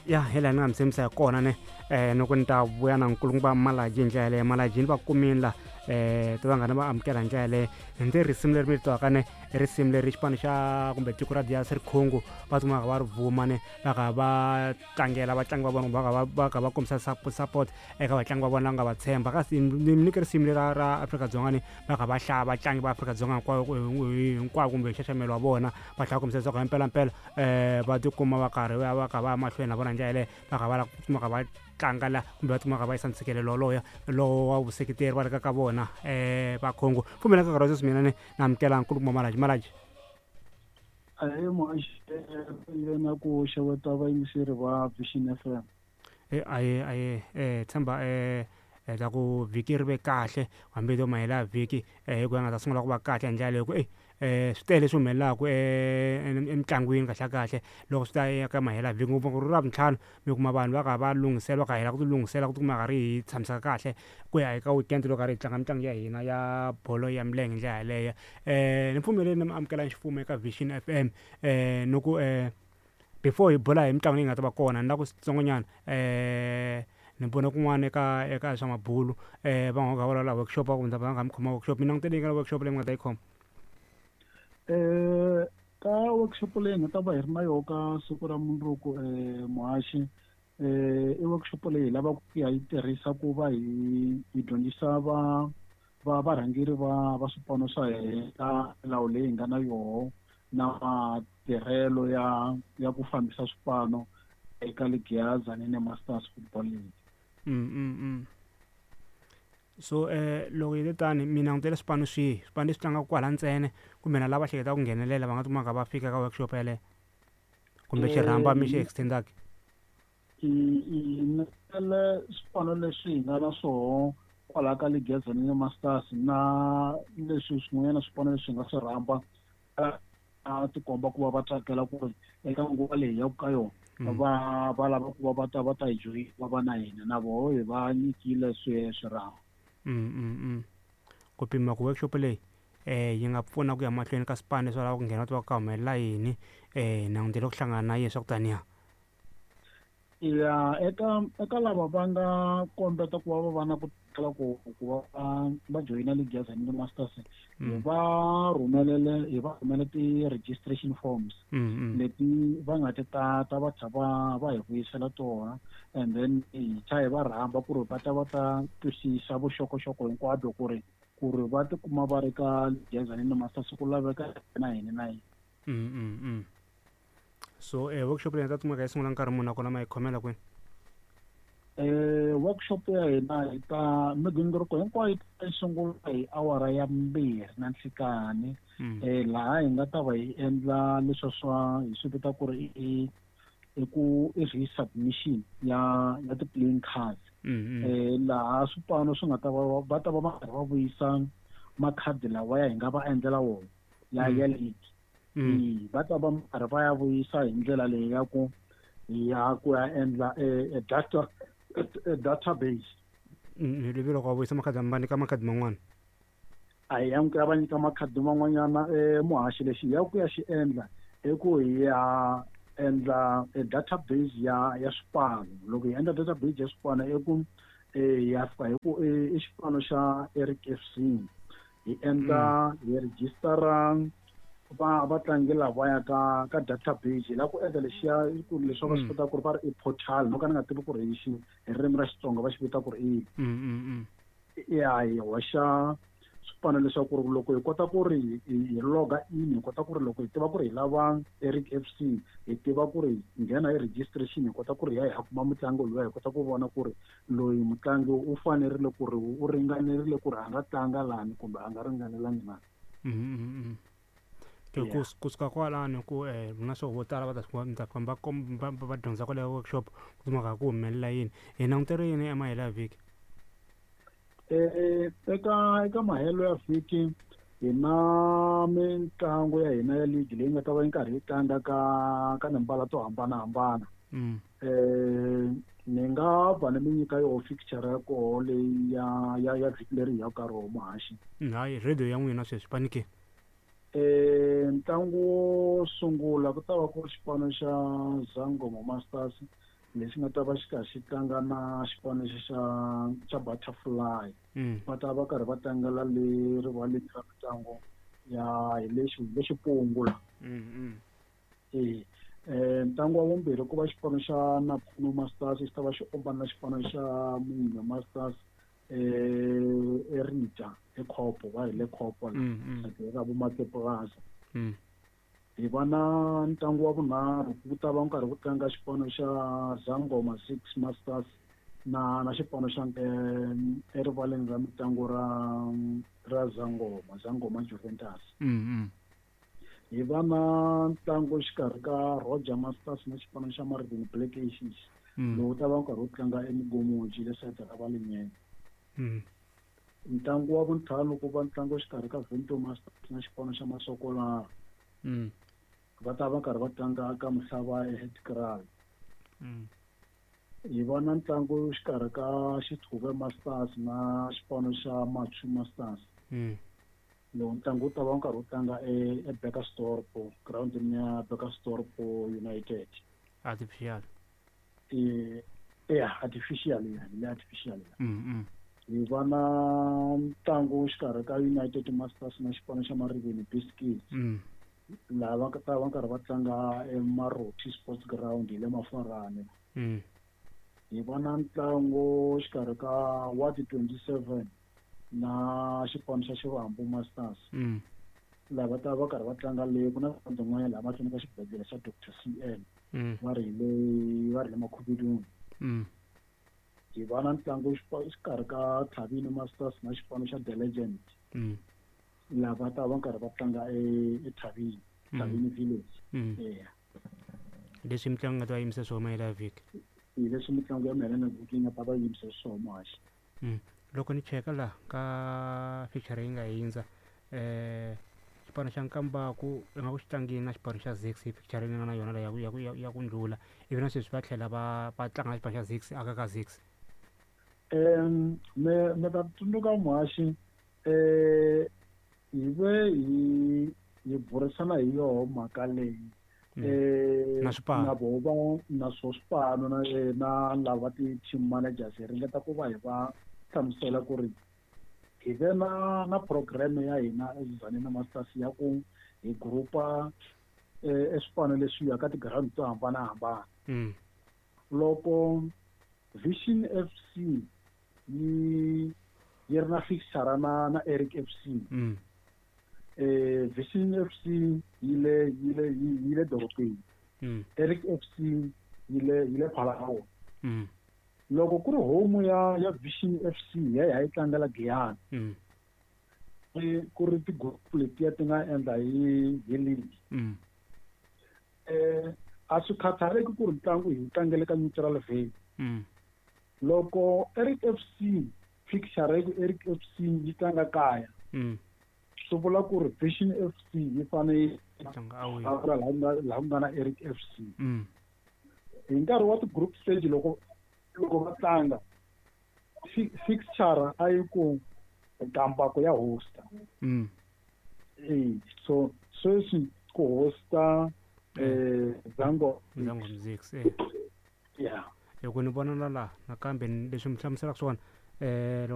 Ya hi laha ni nga mi tshembisa hi kona ne ni ku ni ta vuya na nkulukumba Malaji hi ndlela yaleyo. Malaji ni va kumini la ti vanghana va amukela hi ndlela yaleyo. Ndzi risimu leri mi ri twaka ne i risimu leri xipano xa kumbe tiko ra DRC Congo va tsumbaka va ri vuma ne va kha va tlangela vatlangi va vona kumbe va kha va kombisa support eka vatlangi va vona nga va tshemba. Kasi ni mi nyike risimu leri ra Afrika-Dzonga ni va kha va hlaya vatlangi va Afrika-Dzonga hinkwayo hinkwavo kumbe nxaxamelo wa vona, va tlhela va kombisa leswaku himpelampela va tikuma va karhi va kha va ya mahlweni na vona hi ndlela yaleyo, va kha va lava ku tikuma kha va tlanga la kumbe va tikuma kha va yisa ntshikelelo wolowo lowo wa vuseketeri va ri ka vona va Congo. Pfumela ka nkarhi wa sweswi mina ni na amukela nkulukumba Malaji. Malaji. Ahee muhaxi na ku xeweta vayingiseri va Vision FM. Aye aye tshemba ta ku vhiki ri ve kahle hambi to mahela ya vhiki hi ku ya nga ta sungula ku va kahle hi ndlela leyo ku swi tele leswi humelelaku emitlangwini kahle kahle loko swi ta eka mahela vhiki, ngopfu ku ri Ravuntlhanu mi kuma vanhu va kha va lunghisela, va kha hela ku ti lunghisela ku tikuma karhi hi tshamiseka kahle ku ya eka weekend loko karhi hi tlanga mitlangu ya hina ya bolo ya milenge hi ndlela yaleyo. Ni pfumeleli ni mi amukela ximfumo eka Vision FM ni ku before hi bula hi mitlangu leyi nga ta va kona ni la ku switsongonyana ni vone kun'wana eka swa mabulu va nga vulavula workshop va ku mi ta va nga mi khoma workshop. Mi langutele yini ka workshop leyi mi nga ta yi khoma? Ka workshop leyi hi nga ta va hi ri na yona ka siku ra mundzuku muhaxi i workshop leyi hi lavaka ku ya yi tirhisa ku va hi dyondzisa va va varhangeri va swipano swa hina milawu leyi hi nga na yoho na matirhelo ya ku fambisa swipano eka ligi ya Tzaneen Masters Football League. So loko yi te tani mi langutele swipano swihi? Swipano leswi tlangaka kwala ntsena kumbe na lava hleketaka ku nghenelela va nga tikuma va fika ka workshop yaleyo kumbe xirhamba mi xi extendaka? Hi nyikele swipano leswi hi nga na swoho kwalaho ka ligi ya Tzaneen Masters na leswi swin'wanyana swipano leswi hi nga swi rhamba a tikomba ku va va tsakela ku ri eka nguva leyi ya ka yona va lava ku va va ta va ta hi joyina va va na hina na voho hi va nyikile swirhambo. Ku pima ku workshop leyi yi nga pfuna ku ya mahlweni ka swipano leswi va lavaka ku nghena va tiva ku ka humelela yini langutele ku hlangana na yini swa ku taniya. Ya eka lava va nga kombeta ku va va va na ku tsakela ku va va joyina league ya Tzaneen Masters hi va rhumelele hi va rhumele ti-registration forms leti va nga ti tata va tlha va hi vuyisela tona, and then hi tlha hi va rhamba ku ri va ta va ta twisisa vuxokoxoko hinkwabyo ku ri va tikuma va ri ka league ya Tzaneen Masters ku laveka na yini na yini. So workshop leyi nga ta kumeka yi sungula nkarhi muni nakona ma yi khomela kwini? Workshop ya hina hi ta migingiriko hinkwayo yi ta yi sungula hi awara ya 2 na nhlikani. Laha hi nga ta va hi endla leswi swa hi swi vita ku ri i ku i resubmission ya ti-playing cards. Laha swipano swi nga ta va va ta va va karhi va vuyisa makhadi lawa ya hi nga va endlela wona ya league. Va ta va karhi va ya vuyisa hi ndlela leyi ya ku ya ku ya endla e data database. Hi loko va vuyisa makhadi va nyika makhadi man'wana. A hi ya ku ya va nyika makhadi man'wanyana muhaxi lexi hi ya ku ya xi endla i ku hi ya endla e database ya swipano. Loko hi endla database ya swipano i ku hi ya fika hi ku i xipano xa Eric FC hi endla hi registera va vatlangi lava ya ka database. Hi lava ku endla lexiya ku leswi va swi kota ku ri va ri i portal, no ka ni nga tivi ku ri hi xi hi ririmi ra Xitsonga va xi vita ku ri i ya hi hoxa swipano leswaku ri loko hi kota ku ri hi loga in, hi kota ku ri loko hi tiva ku ri hi lava Eric FC, hi tiva ku ri hi nghena hi registration, hi kota ku ri hi ya hi ya kuma mutlangi luya, hi kota ku vona ku ri loyi mutlangi u fanerile ku ri u ringanerile ku ri a nga tlanga lani kumbe a nga ringanelangi na. Kusuka kwalano ku na swo vo tala va ta mi ta famba va dyondza kwale workshop ku kumeka ku humelela yini. Hi langutele yini emahelo ya vhiki? Eka mahelo ya vhiki hi na mitlangu ya hina ya league leyi nga ta va yi karhi yi tlanga ka timbala to hambanahambana. Ni nga va ni mi nyika yoho fixture ya koho leyi ya vhiki leri hi yaka ka roho muhaxi. Hayi radio ya n'wina sweswi panike. Ntlangu wo sungula ku ta va ku ri xipano xa Zangoma Masters Lexi nga ta va xi karhi xi tlanga na xipano lexi xa Butterfly. Va ta va karhi va tlangela le rivaleni ra mitlangu ya hi le Xipungu la. Ntlangu wa vumbirhi ku va xipano xa Napfuno Masters xi ta va xi ombana na xipano xa Munye Masters eRita eKhopo, va hi le Khopo la, ra vo Makepurasa. Hi va na ntlangu wa vunharhu ku ta va nkarhi ku tlanga xipano xa Zangoma 6 Masters na xipano xa erivaleni ra mitlangu ra Zangoma Juventus. Hi va na ntlangu xikarhi ka Roger Masters na xipano xa Marvin Black Aces. Lowu ta va nkarhi wo tlanga eMigomoji le sayiti ra Valinyene. Ntlangu wa vuntlhanu ku va ntlangu xikarhi ka Vento Masters na xipano xa Masokolara. Va ta va karhi va tlanga ka Muhlava eHeadkraal. Hi va na ntlangu xikarhi ka Xithuve Masters na xipano xa Machu Masters. Lowu ntlangu wu ta va nkarhi wo tlanga eBekkersdorp, groundini ya Bekkersdorp United. Artificial. Artificial ya, le artificial ya. Hi va na ntlangu xikarhi ka United Masters na xipano xa Mariveni Biscuits. Laha va ta va karhi va tlanga eMaroti Sports Ground hi le Mafarani. Hi va na ntlangu xikarhi ka Ward 27 na xipano xa Xivambu Masters. Laha va ta va karhi va tlanga le ku na ground yin'wana laha mahlweni ka xibedhlele xa Dr CN. Va ri le Makhubiduni. Hi va na ntlangu xikarhi ka Thabini Masters na xipano xa The Legend. Laha va ta va karhi va tlanga eThabini, Thabini Village. Leswi mitlangu nga ta va yimisa swona mayelana vhiki. Hi leswi mitlangu ya mayelana vhiki yi nga ta va yimisa swona muhaxi. Loko ni cheka laha ka fixture yi nga hindza, xipano xa Nkambaku i nga ku xi tlangini na xipano xa Zix hi fixture leyi nga na yona la ya ku ndlula, ivi na sweswi va tlhela va tlanga na xipano xa Zix aka ka Zix. Me ta tsundzuka muhaxi, hi ve hi burisana hi yoho mhaka leyi. Na swipano. Na voho va na swo swipano na lava ti-team managers hi ringeta ku va hi va hlamusela ku ri hi ve na program ya hina eZanina Masters ya ku hi groupa eswipano leswiya ka ti-ground to hambanahambana. Loko Vision FC yi ri na fixture na Eric FC. Vision FC yi le dorobeni. Eric FC yi le Phalaborwa. Loko ku ri home ya Vision FC ya yi tlangela Giyani. Ku ri ti-group letiya ti nga endla hi league. A swi khathaleki ku ri ntlangu hi tlangele ka neutral venue. Loko Eric FC fixture ya Eric FC yi tlanga kaya, swi vula ku ri Vision FC yi fanele laha ku nga na Eric FC. Hi nkarhi wa ti-group stage loko va tlanga fixture a yi ku Nkambaku ya hosta. So sweswi ku hosta Zango Zix. Yeah. Loko ni vona la nakambe leswi mi hlamuselaka swona,